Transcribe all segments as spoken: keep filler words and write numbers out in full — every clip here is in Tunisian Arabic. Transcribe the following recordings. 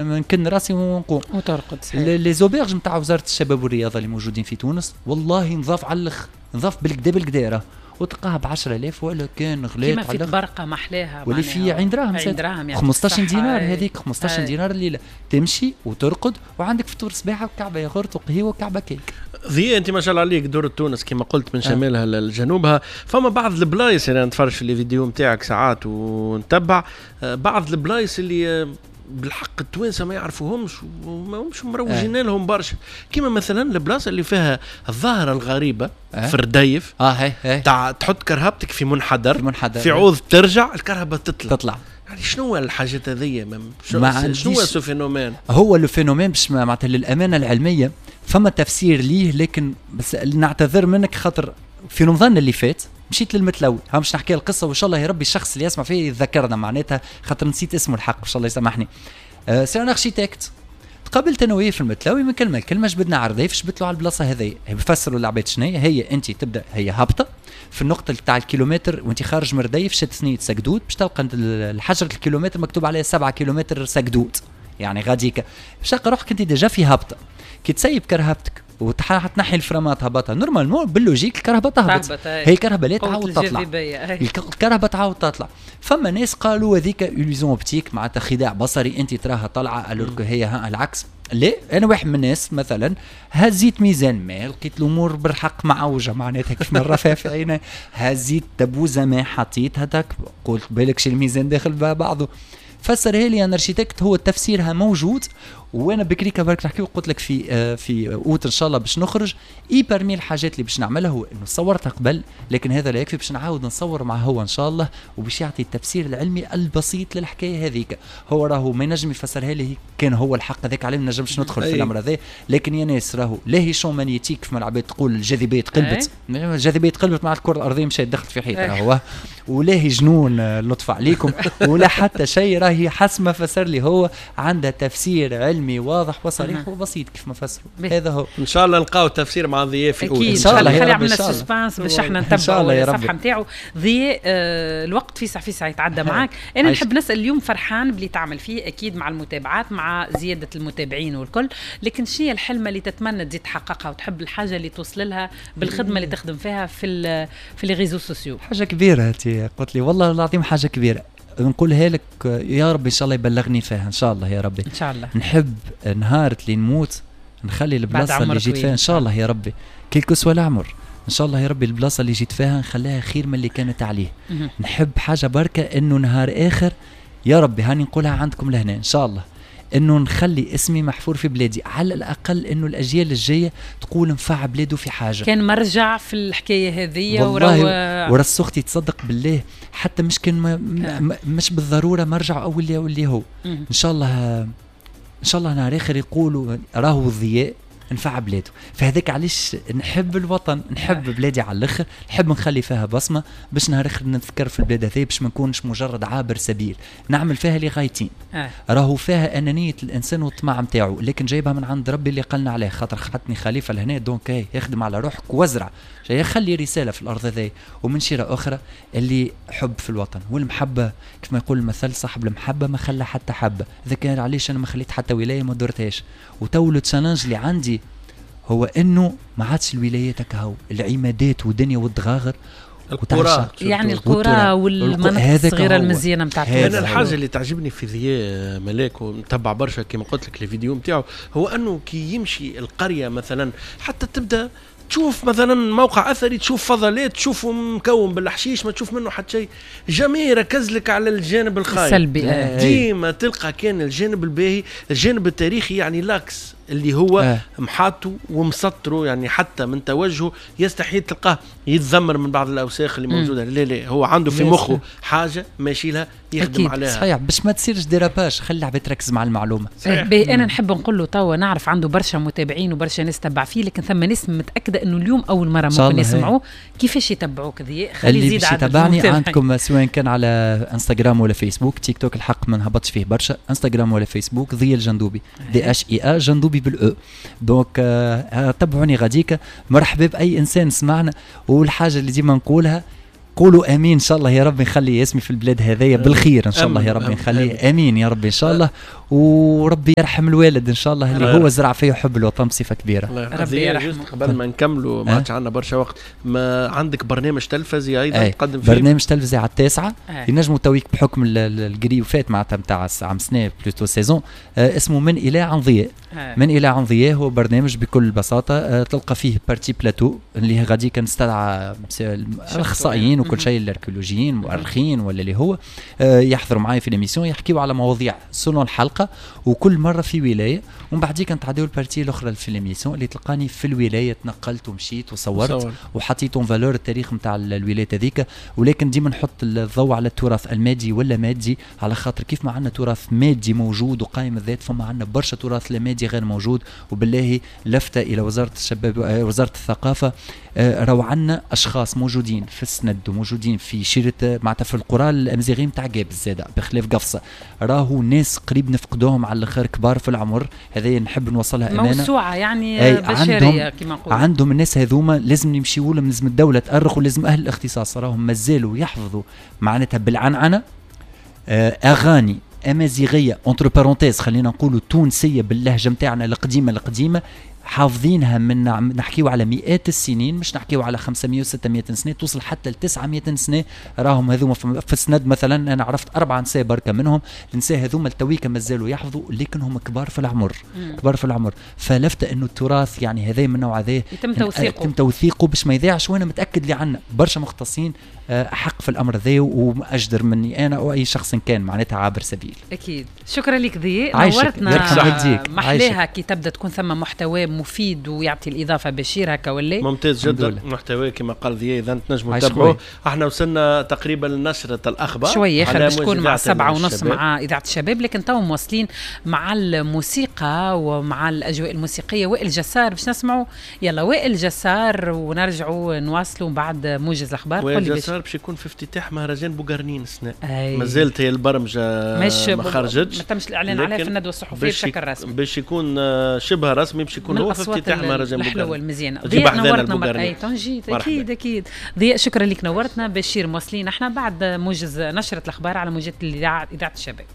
نكن راسي ونقوم. وترقد، صحيح. les auberges نتاع وزارة الشباب والرياضة اللي موجودين في تونس والله نظاف على الاخر، نظاف بالكدا بالكدا راه، وتلقاها ب عشرة آلاف ولا كان غليت. كيما في طبرقه محلاها. واللي في عين دراهم. عين دراهم. خمسطاش دينار هذيك، خمسطاش دينار الليله، تمشي وترقد وعندك فطور صباحه وكعبه ياغورت وقهوة وكعبه كيك. ضياء، انت ما شاء الله عليك دورة تونس كما قلت من شمالها لجنوبها. فما بعض البلايص اللي نتفرج في les vidéos نتاعك ساعات ونتبع آه، بعض البلايص اللي آه، بالحق التوانسة ما يعرفوهمش وما همش مروجين آه. لهم برشا، كيما مثلا البلاصة اللي فيها الظاهرة الغريبة آه. في الرديف. اه هي هي. تاع تحط كرهبتك في منحدر، في منحدر، في عوض ترجع الكرهبه تطلع. تطلع. يعني شنو الحاجات هذيا؟ شنو شنو ce phénomène؟ هو le phénomène باش معناتها للامانة العلمية فما تفسير ليه، لكن بس نعتذر منك خاطر في رمضان اللي فات مشيت للمتلوي. ها مش نحكي القصة وان شاء الله يا ربي الشخص اللي يسمع فيه يتذكرنا، معناتها خاطر نسيت اسمه الحق، ان شاء الله يسامحني. آه c'est un architecte، تقابلت انا وياه في المتلاوي، من كلمة لكلمة جبدنا عالرديف، جبدت له على البلاصة هذيا. بفسروا العباد شنو هي. انت تبدا هي هابطة في النقطة تاع الكيلومتر وانت خارج من رديف شد ثنيه سقدود، باش تلقى الحجرة الكيلومتر مكتوب عليها سبعة كيلومتر سقدود، يعني غاديك باش تلقى روحك انت déjà في هابطه. كي تسيب كرهبتك وتنحي الفرامات هبطها، normalement بال logique الكرهبه تهبط. هي الكرهبه لا، تعاود تطلع، الكرهبه تعاود تطلع. فما ناس قالوا هذيك illusion optique، معناتها خداع بصري، انت تراها طالعه alors هي ها العكس. لا، انا واحد من الناس مثلا هزيت ميزان ماء لقيت الامور بالحق معوجه، معناتها كيف ما نرى في عيني. هزيت دبوزه ماء حطيت هذاك، قلت بالك شي الميزان داخل بعضه. فسرها لي un architecte، هو تفسيرها موجود. وانا بكري برك نحكي وقلت لك في آه، في اوت ان شاء الله باش نخرج، et parmi الحاجات اللي باش نعملها هو انه صورتها قبل، لكن هذا لا يكفي، باش نعاود نصور مع هو ان شاء الله وباش يعطي التفسير العلمي البسيط للحكايه هذيك. هو راهو ما ينجم يفسرها لي كان هو الحق، هذاك عليه ما نجمش ندخل في الامر هذا. لكن يا ناس راهو لا هي champ magnétique كيف ما العباد تقول الجاذبية تقلبت، الجاذبية تقلبت مع الكره الارضية مشات دخلت في حيط راهو، ولا هي جنون لطف عليكم ولا حتى شيء. راهي حسب ما فسر لي هو عندها تفسير علمي واضح وصريح وبسيط كيف ما فسروا. هذا هو. ان شاء الله نلقاو تفسير مع ضياء في اكيد ان شاء الله. خلي عملنا suspense باش احنا نتبعوا الصفحة نتاعو. ضياء، آه الوقت فيسع فيسع يتعدى معاك. انا نحب نسال اليوم، فرحان باللي تعمل فيه اكيد مع المتابعات، مع زيادة المتابعين والكل، لكن شنو هي الحلمة اللي تتمنى تزيد تحققها وتحب الحاجة اللي توصل لها بالخدمة اللي تخدم فيها في في les réseaux sociaux؟ حاجة كبيرة انت قلت لي، والله العظيم حاجة كبيرة نقولها لك، يا ربي ان شاء الله يبلغني فيها، ان شاء الله يا ربي. ان شاء الله. نحب نهار اللي نموت نخلي البلاصة اللي جيت فيها، ان شاء الله يا ربي quel que soit العمر، ان شاء الله يا ربي البلاصة اللي جيت فيها نخليها خير من اللي كانت عليه. نحب حاجة بركة انه نهار اخر يا ربي، هاني نقولها عندكم لهنا، ان شاء الله انه نخلي اسمي محفور في بلادي، على الاقل انه الاجيال الجاية تقول نفع بلاده في حاجه. كان مرجع في الحكاية هذه. والله ورس اختي تصدق بالله حتى مش كان ما مش بالضرورة مرجع او اللي او اللي هو ان شاء الله، ان شاء الله نهار اخر يقولوا راهو الضياء نفع بلاده. فهذاك علاش نحب الوطن، نحب بلادي على الاخر، نحب نخلي فيها بصمة باش نهار اخر نتذكر في البلاد هذه، باش ما نكونش مجرد عابر سبيل. نعمل فيها لغايتين آه. راهو فيها انانية الانسان والطمع نتاعو، لكن جايبها من عند ربي اللي قالنا عليه، خاطر حطني خليفة لهنا، donc يخدم على روحك وازرع، جاي خلي رسالة في الارض هذه. ومن شيره اخرى اللي حب في الوطن والمحبه، كيف ما يقول المثل، صاحب المحبة ما خلى حتى حبه. اذا كان علاش انا ما خليت حتى ولاية ما درتهاش. وتو le challenge اللي عندي هو انه ما عادش الولايات كهو، العمادات والدنيا والدغاغر. القرى. يعني القرى والمناطق الصغيرة المزيانه نتاع انا الحاجة اللي تعجبني في ضياء ملاك ونتبع برشا كما قلت لك الفيديو نتاعو، هو انه كي يمشي القرية مثلا حتى تبدا تشوف مثلا موقع اثري، تشوف فضلات، تشوفه مكون بالحشيش، ما تشوف منه حتى شيء، jamais يركز لك على الجانب الخايب السلبي. آه. ديما تلقى كان الجانب الباهي، الجانب التاريخي، يعني l'axe اللي هو آه. محاطة ومسطره، يعني حتى من توجهه يستحيل تلقاه يتذمر من بعض الاوساخ اللي موجوده. لا لا، هو عنده في مخه حاجة ماشي لها، يخدم أكيد. عليها. صحيح، باش ما تصيرش dérapage، خلي العباد تركز مع المعلومه. صحيح. انا نحب نقول له توا نعرف عنده برشا متابعين وبرشا ناس تبع فيه، لكن ثم ناس متاكدة انه اليوم اول مرة ممكن يسمعوه. كيفاش يتبعوك ذي؟ خلي يزيد عدد يتبعني عندكم سواء كان على انستغرام ولا فيسبوك. تيك توك الحق ما نهبطش فيه برشا. انستغرام ولا فيسبوك ضياء الجندوبي، D H I A جندوبي بال E. donc آه تبعوني غاديكا، مرحبا باي انسان سمعنا. والحاجة اللي ديما نقولها قولوا امين ان شاء الله يا ربي، نخلي اسمي في البلاد هذايا بالخير ان شاء الله يا ربي، نخليه امين يا ربي ان شاء الله، وربي يرحم الوالد ان شاء الله اللي هو زرع فيه حب الوطن بصفة كبيرة. ربي يرحمه. قبل ما نكملوا ما عادش عندنا برشا وقت، ما عندك برنامج تلفزي ايضا تقدم فيه؟ برنامج تلفزي على التاسعة، ينجموا تويك بحكم الجري وفات معناتها نتاع عام سنة plutôt saison، اسمه من الى عن ضياء. من الى عن ضياء هو برنامج بكل بساطة تلقى فيه partie plateau اللي غادي كنستدعى الاخصائيين وكل شيء، الاركيولوجيين المؤرخين ولا اللي هو يحضروا معايا في l'émission، يحكيوا على مواضيع selon الحلقة، وكل مرة في ولاية، ومن بعديك نتعداو ال partie الاخرى في l'émission اللي تلقاني في الولاية، تنقلت ومشيت وصورت وحطيت en valeur التاريخ نتاع الولاية هذيك، ولكن ديما نحط الضوء على التراث المادي ولا مادي، على خاطر كيف ما عندنا تراث مادي موجود وقائم الذات، فما عندنا برشا تراث لا مادي غير موجود. وبالله لفته الى وزارة الشباب وزارة الثقافة، راهو عندنا اشخاص موجودين في السند وموجودين في شيره معناتها في القرى الامازيغية نتاع قابس زاده بخلاف قفصه، راهو ناس قريب نفقدوهم على الاخر كبار في العمر، هذا نحب نوصلها امانه موسوعة يعني بشرية كما نقولوا. عندهم الناس هذوما لازم نمشيوا لهم، لازم الدولة تأرخ، ولازم اهل الاختصاص راهم مازالوا يحفظوا معناتها بالعنعنة اغاني امازيغيه entre parenthèses خلينا نقولوا تونسية باللهجة نتاعنا القديمة القديمة، حافظينها من نحكيو على مئات السنين، مش نحكيو على خمسمية وستمية سنة، توصل حتى ل تسعمية سنة. راهم هذوما في السند مثلا انا عرفت اربع نساء بركة منهم، النساء هذوما التويكه مازالوا يحفظوا، لكن هم كبار في العمر، كبار في العمر. فلفت انه التراث يعني هذا من نوع هذا يتم توثيقه، يتم توثيقه باش ما يضيعش، وانا متاكد اللي عندنا برشا مختصين حق في الامر ذا واجدر مني انا او اي شخص كان معناتها عابر سبيل. اكيد. شكرا لك ضياء، نورتنا. محلاها كي تبدا تكون ثم محتوى مفيد ويعطي الاضافة بشير هكا ولا ممتاز جدا محتوى كما قال ضياء، اذا تنجموا تتابعوه. احنا وصلنا تقريبا لنشره الاخبار شوية اخر باش تكون مع سبعة ونص مع اذاعة الشباب، لكن تو مواصلين مع الموسيقى ومع الاجواء الموسيقية. وائل جسار باش نسمعوا، يلا وائل جسار ونرجعوا نواصلوا بعد موجز الاخبار. وائل جسار باش يكون في افتتاح مهرجان بوغارنين السنة، مازالت هي البرمجة ما خرجتش، ما تمش الاعلان عليها في الندوة الصحفية بشكل رسمي، باش يكون شبه رسمي، باش يكون هو في افتتاح مهرجان بوغارنين. الحلوة المزيانه. ضياء نورتنا مرة. اي تنجي اكيد اكيد. ضياء شكرا لك نورتنا. بشير مواصلين احنا بعد موجز نشره الاخبار على موجات الاذاعة اذاعة الشباب.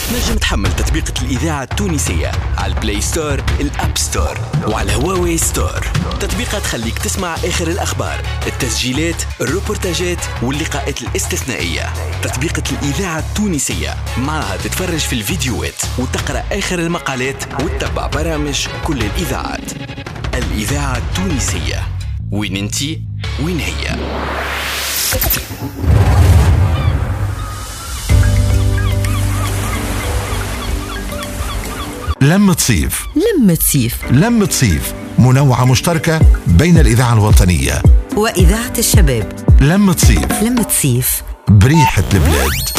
تنجم تحمل تطبيقة الإذاعة التونسية على ال Play Store، ال App Store، وعلى هواوي Store. تطبيقة تخليك تسمع آخر الأخبار، التسجيلات، الروبورتاجات واللقاءات الاستثنائية. تطبيقة الإذاعة التونسية معها تتفرج في الفيديوهات وتقرأ آخر المقالات وتتبع برامج كل الإذاعات. الإذاعة التونسية، وين انتي وين هي. لمة صيف، لمة صيف، لمة صيف، منوعة مشتركة بين الإذاعة الوطنية وإذاعة الشباب. لمة صيف، لمة صيف، بريحة البلاد.